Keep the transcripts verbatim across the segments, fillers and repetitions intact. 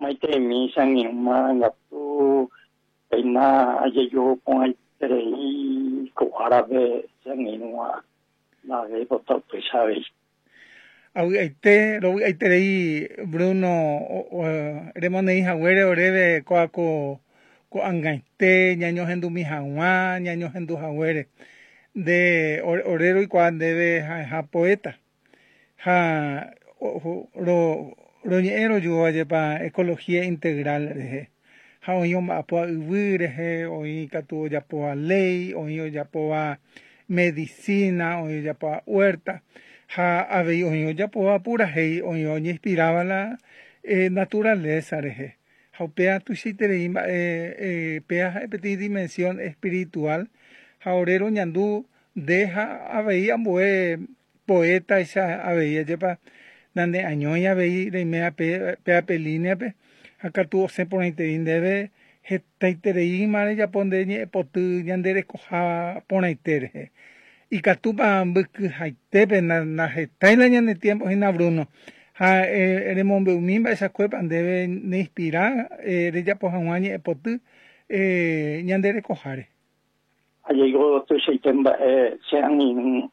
Maiteimi che angirũ marangatu péina ajejuhuporãiterei ko árape che angirũva ndavéipota upéicha avei. Avy'aite rovy'aiterei Bruno remoneĩ haguére oréve kóa ko ko'ag̃aite ñañohendumi hag̃ua ñañohendu haguére nde ore roikuaa ndéve ha'eha poeta ha ro roñe'ẽ rojuajépa ecología integral rehe ha oĩ omba'apóva yvy rehe oĩ katu ojapóva léi oĩ ojapóva medicina oĩ ojapóva huerta ha avei oĩ ojapóva purahéi oĩ oñeinspiráva la naturaleza rehe ha upéva tuichaiterei mba'e péa ha'e peteĩ dimensión espiritual ha ore roñandu nde ha avei ambue poetaicha avei ajépa naneañói avei reime péape línea-pe ha katu osẽ porãiterei ndéve hetaitereíma rejapo nde ñe'ẽpoty ñande rekoha porãite rehe ikatúpa mbykyhaitépe ndahetái la ñane tiempo hína Bruno ha remombe'umi mba'eichakuépa ndéve neinspira rejapo hag̃ua ñe'ẽpoty ñande rekoháre. Ajeiko tuichaite mba'e che angirũ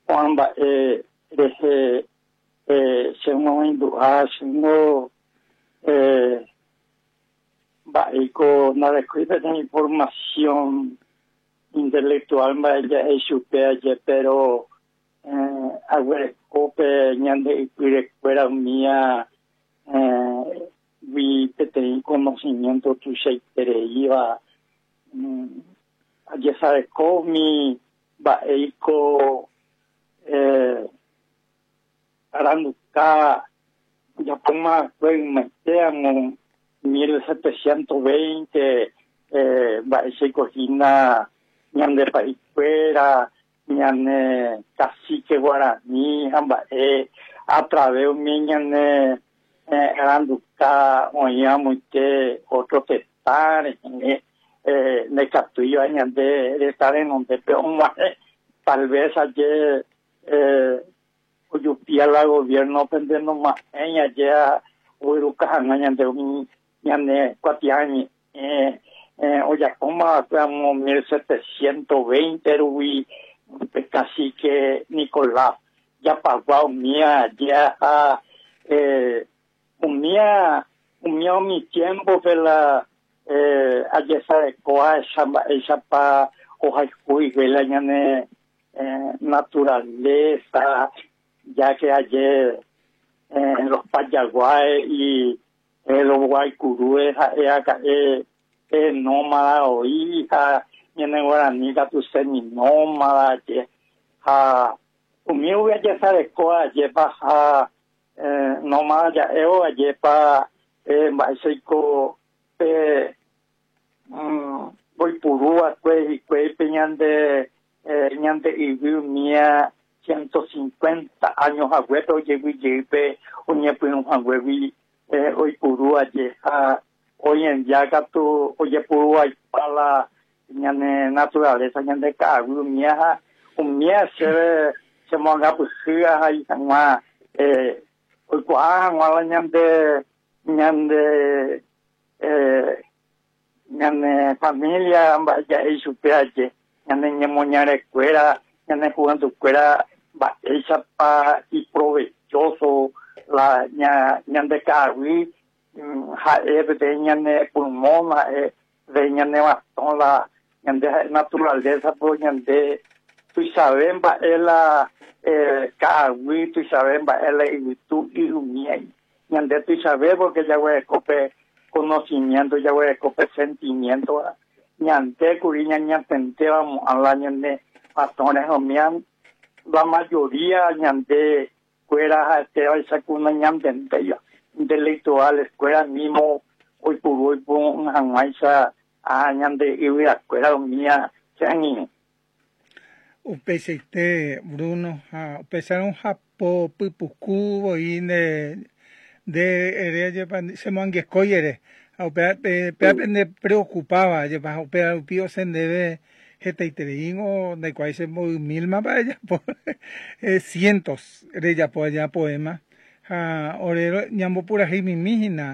ko'ã mba'e rehe che moĩndu'a chéngo mba'éiko ndarekói peteĩ información intelectual mba'e ja'e chupe aje pero aguerekópe ñande ypyrekuéra umía gui peteĩ conocimiento tuichaitereíva ajesareko umi mba'éiko aranduka ojapóma ymaite amo mil setecientos veinte mba'éichaiko hína ñande pa'ikuéra ñane cacique guarani ha mba'e a través umi ñane aranduka oĩ amoite otro tetã rehe ndaikatúiva ñande retã renondépe og̃uahẽ tal vez aje ojupía la gobierno pendenoma'ẽi aje ogueruka hag̃ua ñande umi ñane kuatiañe'ẽ ojapóma amo mil setecientos veinte rupi pe cacique Nicolás Japagua umía aje ha umía umía umi tiempo-pe la ajesareko ahecha mba'éichapa ohayhu la ñane naturaleza ya que aje los Payaguáes y los Guaycurúes ha'e aka'e nómada oĩ ha ñane guarani katu seminómada aje ha umi upe ajesareko ajépa ha nómada ja'évo ajépa mba'éichaiko pe oipuruva'ekue hikuái pe ñande ñande yvy umía ciento cincuenta años haguépe ojeguyjeýpe oñepyrũ haguégui oipuru aje ha hoy en día katu ojepuruvaipa la ñane naturaleza ñande ka'aguy umía ha umía chéve chemoangapyhy ahai hag̃ua oikuaa hag̃ua la ñande ñande ñane familia mba'e ja'e chupe aje ñane ñemoñarekuéra ñane juventud-kuéra mba'éichapa iprovechoso la ña ñande ka'aguy ha'e peteĩ ñane pulmón ha'e de ñane bastón la ñande ha'e naturaleza po ñande tuichave mba'e la ka'aguy tuichave mba'e la yvytu y umía ñande tuichave porque jaguereko pe conocimiento jaguereko pe sentimiento ñande kuri ñañatentéva mo'ã la ñane bastón umía la mayoría ñande kuéra ha'etévaicha ku nañantentéiva intelectuales kuéra mismo oipuru oipuru hag̃uáicha a ñande yvyrakuéra umía che angirũ. Upeichaite Bruno ha upéicharõ hapo pypuku voi nde nde ere ajépa chemoangekói ere ha upéva péape ndepreocupaba ajépa ha upéva rupi osẽ ndéve hetaitereíngo ndaikuaái che mboy mil-ma ejapo cientos rejapo aja poema ha ore ñambopuraheimimi hína.